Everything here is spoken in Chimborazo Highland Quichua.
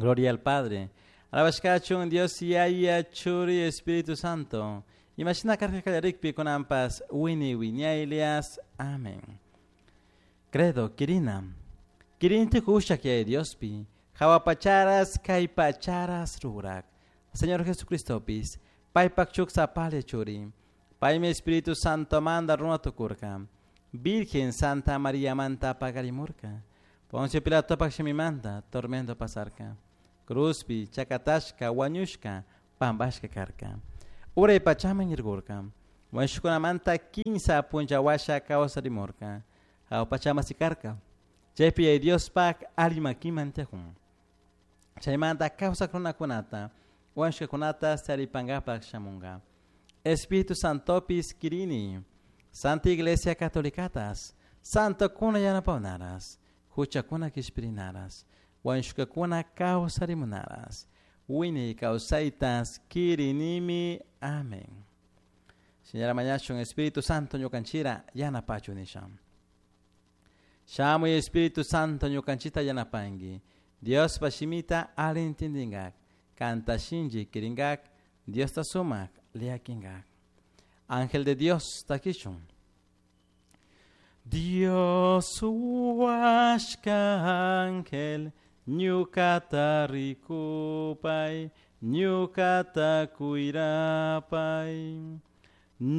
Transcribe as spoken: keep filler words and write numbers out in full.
Gloria al Padre. Alabashkachun Dios Yaya Churi Espíritu Santo. Imashina karka kallarikpi kunanpas wini wiñaylias. Amén. Credo, Kirina. Kirinti kushak Yaya Diospi. Hawa pacharas kay pacharas rurak. Señor Jesucristopis. Paypak shuk sapalla churi. Paymi Espíritu Santo manda runa tukurka. Virgen Santa María manta pagarimurka. Poncio Pilato manta tormento pasarka. Cruzpi, chakatashka, wañushka, pambashka karka. Uray pachaman irgurka. Wañushkunamanta kinsa punlla kawsarimurka. Hawa pachama sikarka. Chaypi Yaya Diospak alli makiman tiyakun. Chaymanta kawsak runakunata, wañushkakunata taripankapak shamunka. Espíritu Santopis kirini. Santa Iglesia Catolicatas, Santo kuna yanapawnaras, huchakuna kishpirinaras, wañushkakuna kawsarimunaras, wiñay kawsaytas kirinimi. Amén. Señora mañashun Espíritu Santo ñukanchira yanapachu nisha. Shamuy Espíritu Santo ñukanchita yanapanki. Dios shimita ali intindingak, kanta shinchi kiringak, Diosta sumak llakinkak. Ángel de Dios takishun. Dios huashka ángel, ñukata rikupay, ñukata cuirapay.